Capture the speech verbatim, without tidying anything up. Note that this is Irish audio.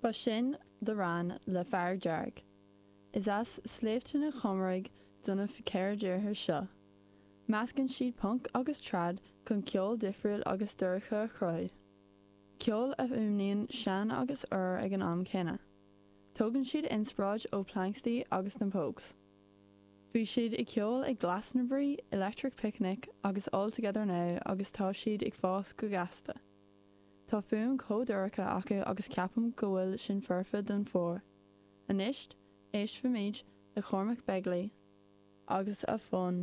Ba sin The Wran le Fear Dearg. Is as Sléibhte na Chomaraigh do na ceithre deartháir seo. Meascann siad punk agus trad chun ceol difriúil agus dorcha a chruthú. Ceol a fhuaimníonn sean agus úr ag an am céanna. Tógann siad inspioráid ó Planxty agus na Pogues. Bhí siad ag ceol ag Glastonbury, Electric Picnic agus All Together Now agus tá siad ag fás go gasta. Tá fuaim chomh dorcha acu agus ceapaim go bhfuil sin foirfe don fhómhar. Anois éistfimid le Cormac Begley agus a fonn